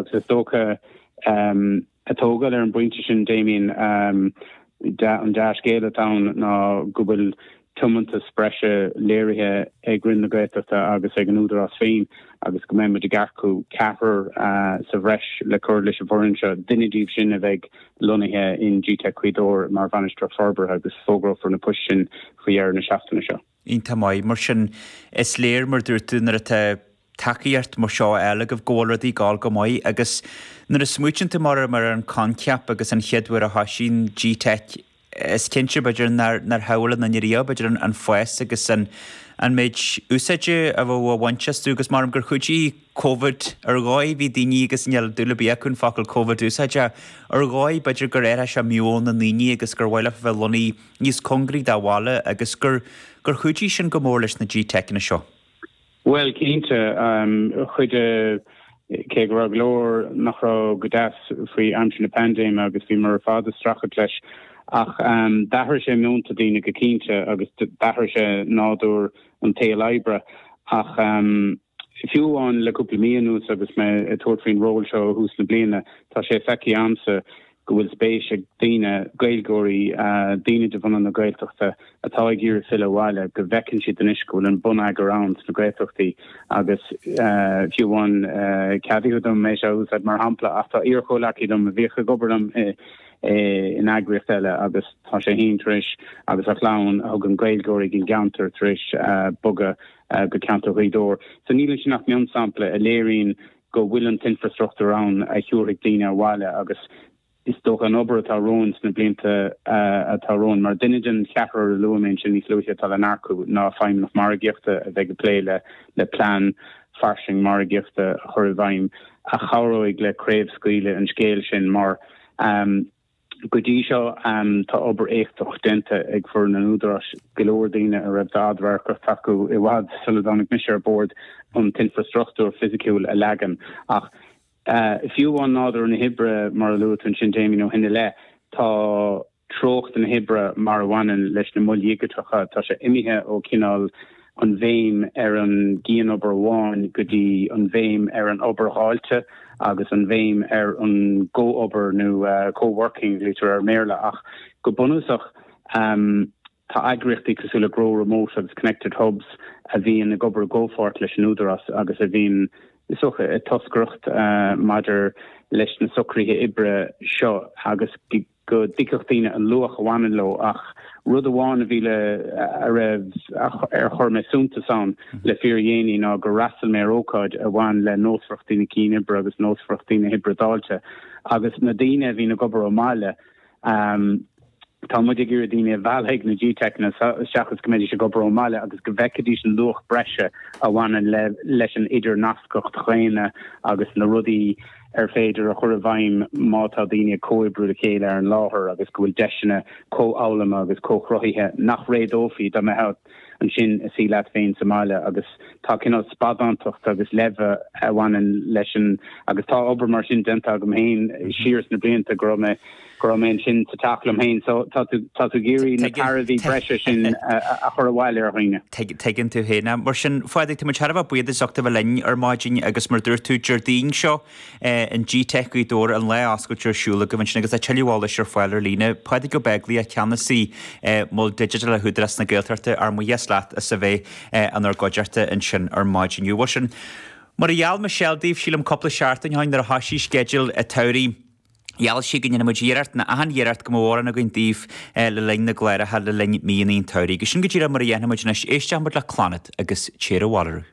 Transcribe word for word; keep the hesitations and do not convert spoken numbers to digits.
agus is dócha um, ag tógáil ar an bpointe sin Damien um, an dea-scéal atá ann ná go bhfuil tiomantas breise léirithe ag Roinn na Gaeltachta agus ag an Údarás féin agus go mbeidh muid ag earcú ceathrar uh, sa bhreis le cur leis an bhfoireann seo duine díobh sin a bheidh lonnaithe in GTeic Ghaoth Dobhair mar bhainisteoir forbartha agus fógrófar na poist sin faoi dheireadh na seachtaine seo. Iontach maith mar sin is léir mar dúirt tú nuair atá tacaíocht mar seo eile go bhfuil rudaí ag gabháil go maith agus nuair a smaoiníonn tú mar mar an coincheap agus an chéad uair a thosaigh GTeic is cinnte b'fhéidir nár nár shamhlaigh aon duine riamh b'fhéidir an, an fás agus an an méid úsáide a bheadh á bhaint astu agus mar gur chuidigh COVID ar dhóigh bhí daoine agus níl dúil ar bith acu an focal COVID úsáide ar dhóigh b'fhéidir gur athraigh sé meon na ndaoine agus gur mhaith leo bheith lonnaithe níos cóngaraí dá bhaile agus gur gur chuidigh sin go mór leis na G-Tecanna seo. Well cinnte um, chuidigh cé go raibh go leor nach raibh go deas faoi aimsir na paindéime agus bhí mar fad ag streachailt leis ach um, d'athraigh sé meonta daoine go cinnte agus d'athraigh sé nádúr an tsaoil oibre ach um, fiú amháin le cúpla mí anuas agus mé ag tabhairt faoin ról seo thús na bliana tá sé feicthe agamsa go bhfuil spéis ag daoine Gaeilgeoirí uh, daoine de bhunadh na Gaeltachta atá ag iarraidh filleadh abhaile go bhfeiceann siad anois go bhfuil an bonneagar ann sna Gaeltachtaí agus uh, fiú amháin uh, ceadaigh dom é seo úsáid mar shampla ach tá iarchomhghleacaí liom a bhíodh ag obair liom in eagraíocht eile agus tá sé féin tar éis agus a chlann a thugann Gaeilgeoirí den gceantar tar éis uh, bogadh uh, go ceantar Ghaoth Dobhair. So níl sin ach mionsampla a léiríonn go bhfuil an t-infrastruchtúr ann a thabharfaidh daoine abhaile agus is dócha an obair atá romhainn sna blianta atá romhainn mar duine den cheathrar a luaigh mé sin níos luaithe atá le n-earcú ná feidhmeannach margaíochta a bheidh ag plé le le plean fairsing margaíochta a chur i bhfeidhm a chabhróidh le craobhscaoileadh an scéil sin mar um, go dtí seo um, tá obair éachtach déanta ag foireann an Údaráis go leor daoine a raibh d'fhadradharc acu i bhfad sula dtáinig mise ar bord an t-infrastruchtúr fisiciúil a leagan ach Uh, fiú amháin nádúr na hoibre mar a luaigh tú ansin Damien ó shin i leith tá treocht na hoibre mar a bhaineann leis na moil dhigiteacha tá sé imithe ó cineál an bhéim ar an gcianobair amháin go dtí an bhéim ar an obair dháilte agus an bhéim ar an gcomhobair nó uh, co-working litir ar mBéarla ach go bunúsach um, tá eagraíochtaí cosúil le Grow Remote agus Connected Hubs a bhíonn ag obair i gcomhpháirt leis an Údarás agus a bhíonn is dócha ag toscaireacht uh, maidir leis na socruithe oibre seo agus go dtuigfeadh daoine an luach a bhaineann leo ach rud amháin a bhí le a raibh ar chuir mé suntas ann le fíordhéanaí ná gur fhreastail mé ar ócáid a bhain le nósmhaireachtaí na cianoibre agus nósmhaireachtaí na hoibre dáilte agus na daoine a bhíonn ag obair ó bhaile um, Tá muid ag iarraidh daoine a mhealladh chuig na G-Techna seachas go mbeidís ag obair ón mbaile agus go bhfeicfidís an luach breise a bhaineann le leis an idirnascacht dhaonna agus na rudaí ar féidir a chur i bhfeidhm má tá daoine ag comhoibriú le chéile ar an láthair agus go bhfuil deiseanna comhfhoghlama agus comhchruthaithe nach réadófaí dá mbeifeá ansin ag suí leat féin sa mbaile agus tá cineál spadántacht agus leimhe a bhaineann leis an agus tá obair mar sin déanta agam féin siar sna blianta go raibh mé go raibh mé ansin sa teach liom féin so tá tú tá tú ag iarraidh na tairbhí breise sin a chur abhaile ar dhaoine. Tuigeann tú féin mar sin a Phádraig tá muid thar a bheith buíoch as ucht a bheith linn ar maidin agus mar dúirt tú Déardaoin seo an G-Tech Gaoth Dobhair an lá oscailte ar siúl agaibh ansin agus tá tuilleadh eolais ar fáil ar líne. Pádraig Ó Beaglaoich ceannasaí Mol Digiteach Údarás na Gaeltachta ár mbuíochas leat as a bheith inár gcuideachta ansin ar maidin. Bhuel sin mar a gheall Michelle daoibh sílim cúpla seachtain ó shin nuair a thosaigh sceideal an tsamhraidh Gheall sí go ndéanfaidh muid iarracht na achan iarracht go mbeadh amhrán againn daoibh le linn na gcláracha le linn míonna an tsamhraidh. Agus sin go díreach mar a dhéanfaidh muid anois éisteoidh muid le Clannad agus Téir Abhaile.